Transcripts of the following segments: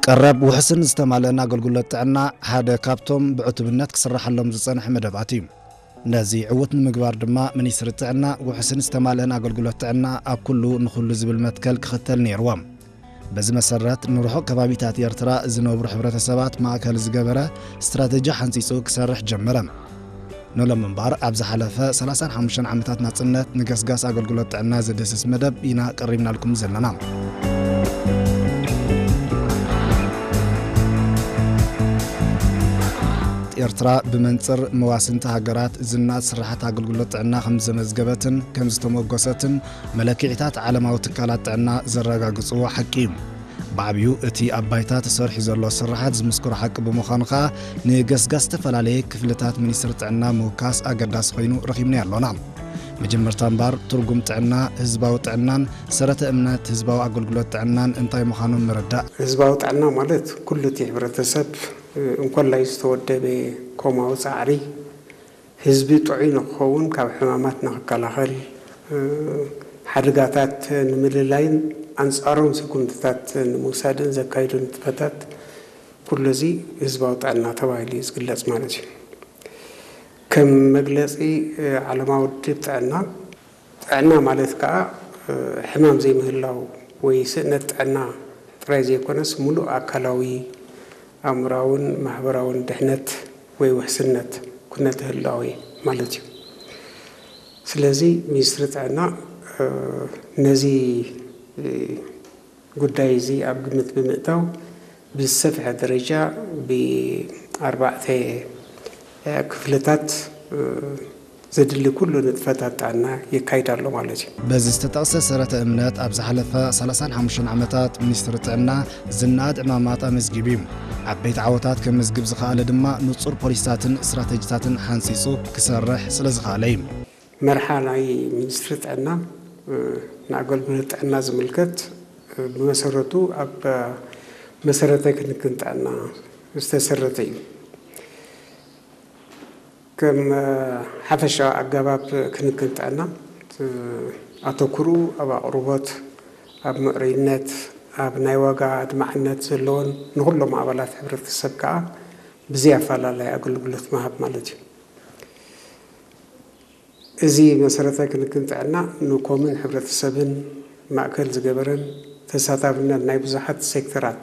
ቀረብ ውሕስን ዝተማልአን ኣገልግሎት ጥዕና ሓደ ካብቶም ብዕቱብነት ክስራሓሎም ዝጸንሐ መደባት እዩ። ነዚ ዕውት ንምግባር ድማ ሚኒስትሪ ጥዕና ውሕስን ዝተማልአን ኣገልግሎት ጥዕና ኣብ ኩሉ ንኹሉ ዝብል መትከል ክኽተል ነይርዎ። በዚ መሰረት ንርሑቕ ከባቢታት ኤርትራ ዝነብሩ ሕብረተሰባት ማእከል ዝገበረ ስትራተጂ ሓንጺጹ ክሰርሕ ጀመረ። ንሎም እምበኣር ኣብ ዝሓለፈ ሰላሳን ሓሙሽተን ዓመታት ናጽነት ንገስጋስ ኣገልግሎት ጥዕና ዝድህስስ መደብ ኢና ቀሪብናልኩም ዘለና። ኤርትራ ብመንጽር መዋስንቲ ሃገራት ዝናኣድ ስራሓት ኣገልግሎት ጥዕና ከም ዘመዝገበትን ከም ዝተመጎሰትን መለክዒታት ዓለማዊ ትካላት ጥዕና ዘረጋግጽዎ ሓቂ እዩ። ብዓብዩ እቲ ኣብ ባይታ ተሰሪሑ ዘሎ ስራሓት ዝምስክሮ ሓቂ ብምዃኑ ከኣ ንገስጋስ ዝተፈላለየ ክፍልታት ሚኒስትሪ ጥዕና ምውካስ ኣገዳሲ ኮይኑ ረኺብናዮ ኣሎና። መጀመርታ እምበኣር ትርጉም ጥዕና፣ ህዝባዊ ጥዕናን ሰረተ እምነት ህዝባዊ ኣገልግሎት ጥዕናን እንታይ ምዃኑ ምርዳእ። ህዝባዊ ጥዕና ማለት ኩሉ እቲ ሕብረተሰብ እንኮላይ ዝተወደበ ኮማዊ ጻዕሪ ህዝቢ ጥዑይ ንክኸውን ካብ ሕማማት ንክከላኸል፣ ሓደጋታት ንምልላይን ኣንጻሮም ስጉምትታት ንምውሳድን ዘካይዱ ንጥፈታት ኩሉ እዚ ህዝባዊ ጥዕና ተባሂሉ እዩ ዝግለጽ ማለት እዩ። ከም መግለጺ ዓለማዊ ውድብ ጥዕና፣ ጥዕና ማለት ከኣ ሕማም ዘይምህላው ወይ ስእነት ጥዕና ጥራይ ዘይኮነስ ምሉእ ኣካላዊ፣ ኣእምራውን ማሕበራውን ድሕነት ወይ ውሕስነት ኩነተ ህላዌ ማለት እዩ። ስለዚ ሚኒስትሪ ጥዕና ነዚ ጉዳይ እዚ ኣብ ግምት ብምእታው ብዝሰፍሐ ደረጃ ብኣርባዕተ ክፍልታት ዘድሊ ኩሉ ንጥፈታት ጥዕና የካይድ ኣሎ ማለት እዩ። በዚ ዝተጠቕሰ ሰረተ እምነት ኣብ ዝሓለፈ ሰላሳን ሓሙሽተን ዓመታት ሚኒስትሪ ጥዕና ዝነኣድ ዕማማት ኣመዝጊቡ እዩ። ዓበይቲ ዓወታት ከመዝግብ ዝኸኣለ ድማ ንጹር ፖሊሲታትን ስትራተጂታትን ሓንጺጹ ክሰርሕ ስለ ዝኸኣለ እዩ። መርሓ ናይ ሚኒስትሪ ጥዕና ንኣገልግሎት ጥዕና ዝምልከት ብመሰረቱ ኣብ መሰረተ ክንክን ጥዕና ዝተሰረተ እዩ። ከም ሓፈሻዊ ኣገባብ ክንክን ጥዕና ኣተኩሩ ኣብ ኣቕርቦት፣ ኣብ ምዕሩይነት፣ ኣብ ናይ ዋጋ ኣድማዕነት ዘለዎን ንኹሎም ኣባላት ሕብረተሰብ ከዓ ብዘይ ኣፈላላይ ኣገልግሎት ምሃብ ማለት እዩ። እዚ መሰረተ ክንክን ጥዕና ንኮምን ሕብረተሰብን ማእከል ዝገበረን ተሳታፍነት ናይ ብዙሓት ሴክተራት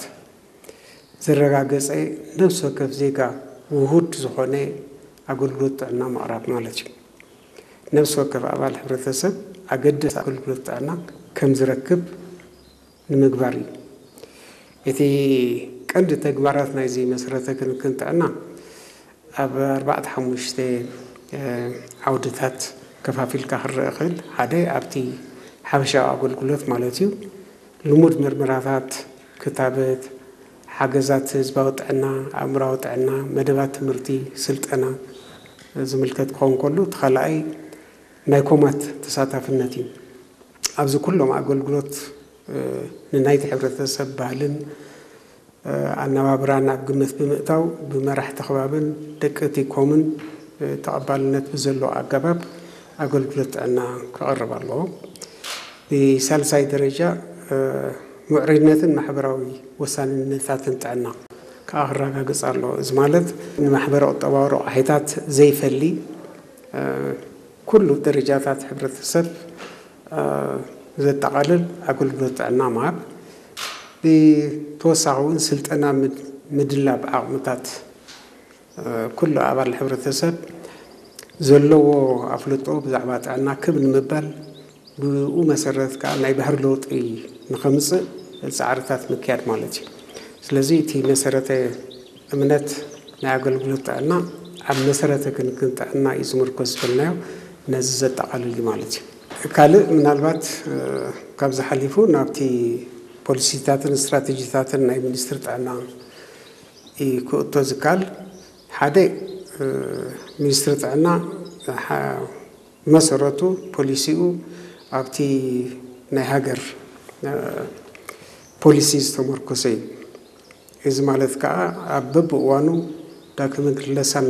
ዘረጋገጸ ነፍሲ ወከፍ ዜጋ ውሁድ ዝኾነ ኣገልግሎት ጥዕና ምቕራብ ማለት እዩ። ነፍሲ ወከፍ ኣባል ሕብረተሰብ ኣገደሲ ኣገልግሎት ጥዕና ከም ዝረክብ ንምግባር እዩ። እቲ ቀንዲ ተግባራት ናይዚ መሰረተ ክንክን ጥዕና ኣብ ኣርባዕተ ሓሙሽተ ዓውድታት ከፋፊልካ ክረአ ይኽእል። ሓደ ኣብቲ ሓፈሻዊ ኣገልግሎት ማለት እዩ። ልሙድ ምርመራታት፣ ክታበት፣ ሓገዛት ህዝባዊ ጥዕና፣ ኣእምራዊ ጥዕና፣ መደባት ትምህርቲ፣ ስልጠና ዝምልከት ክኸውን ከሎ፣ እቲ ካልኣይ ናይ ኮማት ተሳታፍነት እዩ። ኣብዚ ኩሎም ኣገልግሎት ንናይቲ ሕብረተሰብ ባህልን ኣነባብራን ኣብ ግምት ብምእታው ብመራሕቲ ከባብን ደቂ እቲ ኮምን ተቐባልነት ብዘለዎ ኣገባብ ኣገልግሎት ጥዕና ክቐርብ ኣለዎ። ብሳልሳይ ደረጃ ምዕሩይነትን ማሕበራዊ ወሳንነታትን ጥዕና ከዓ ክረጋገጽ ኣለዎ። እዚ ማለት ንማሕበረ ቁጠባዊ ረቋሒታት ዘይፈሊ ኩሉ ደረጃታት ሕብረተሰብ ዘጠቓልል ኣገልግሎት ጥዕና ምሃብ፣ ብተወሳኺ እውን ስልጠና ምድላብ ዓቕምታት ኩሉ ኣባል ሕብረተሰብ ዘለዎ ኣፍልጦ ብዛዕባ ጥዕና ክብ ንምባል ብኡ መሰረት ከዓ ናይ ባህሪ ለውጢ ንኸምፅእ ፃዕርታት ምክያድ ማለት እዩ። ስለዚ እቲ መሰረተ እምነት ናይ ኣገልግሎት ጥዕና ኣብ መሰረተ ክንክን ጥዕና እዩ ዝምርኮስ ዝበልናዮ ነዚ ዘጠቓልል እዩ ማለት እዩ። ካልእ ምናልባት ካብዚ ሓሊፉ ናብቲ ፖሊሲታትን ስትራተጂታትን ናይ ሚኒስትሪ ጥዕና እዩ ክእቶ ዝካል። ሓደ ሚኒስትሪ ጥዕና መሰረቱ ፖሊሲኡ ኣብቲ ናይ ሃገር ፖሊሲ ዝተመርኮሰ እዩ። እዚ ማለት ከዓ ኣብ በብእዋኑ ዳግመ ክለሳ